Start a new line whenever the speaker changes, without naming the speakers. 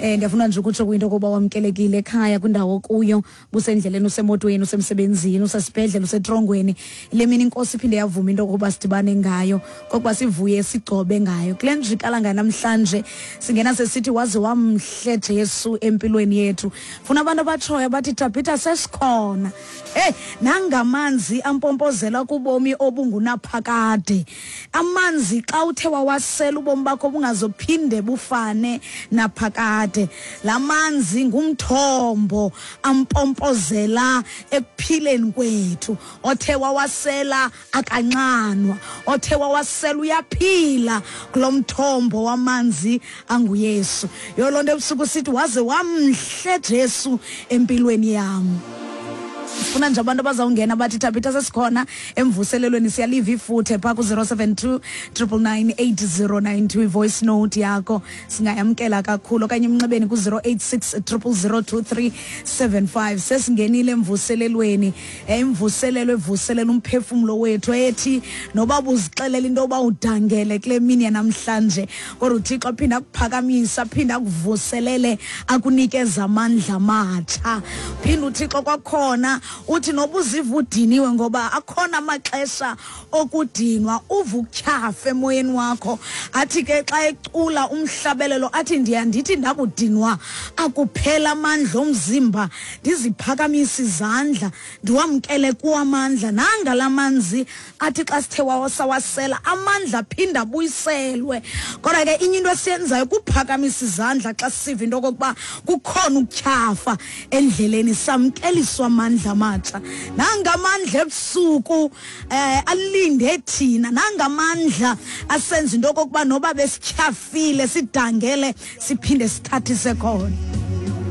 Eh ndiyafuna nje ukutsho kwinto yokuba wamkelekile ekhaya kwindawo okuyo, busendleleni, usemotweni, usemsebenzini, usesibhedlele, usetrongweni. Le mini inkosi iphinde yavuma into yokuba sidibane ngayo, kokuba sivuye sigcobe ngayo. Kule njikalanga namhlanje singena sesithi waze wamhle Jesu empilweni yethu. Funa abantu abatshoyo bathi Tabitha sesikhona. Hey, nangamanzi ampompozela kubomi obungunaphakade. Amanzi xa uthe wawasela ubomi bakho bungazophinde bufane naphakade. La manzi ngumthombo ampompozela ekuphileni kwethu. Othe wawasela akanxanwa, othe wawasela uyaphila kulo mthombo wamanzi anguYesu. Yho loo nto ebusuku sithi waze wamhle Jesu empilweni yam. Sifuna nje abantu abazawungena bathi Thabitha sesikhona emvuselelweni siyaliva ifuthe phaa ku-072 999 8092 ivoice note yakho singayamkela kakhulu okanye emnxebeni ku-086 000 2375 sesingenile emvuselelweni imvuselelo evuselela umphefumlo wethu ethi noba buzixelela into yoba udangele kule mini yanamhlanje kodwa uthixo aphinde akuphakamisa aphinde akuvuselele akunikeza amandla amatsha phinde uthixo kwakhona uthi noba uziva udiniwe ngoba akhona amaxesha okudinwa uva ukutyhafa emoyeni wakho athi ke xa ecula umhlabelelo athi ndiya ndithi ndakudinwa akuphela amandla omzimba ndiziphakamisa izandla ndiwamkele kuwo amandla nanga la manzi athi xa sithe wawasawasela amandla aphinde abuyiselwe kodwa ke inye into esiyenzayo kuphakamisa izandla xa sisiva into okokuba kukhona ukutyhafa endleleni samkeliswa amandla amatsha nangamandla ebusuku eh alinde thina nangamandla asenza into okokuba noba besityhafile sidangele siphinde sithathise khona.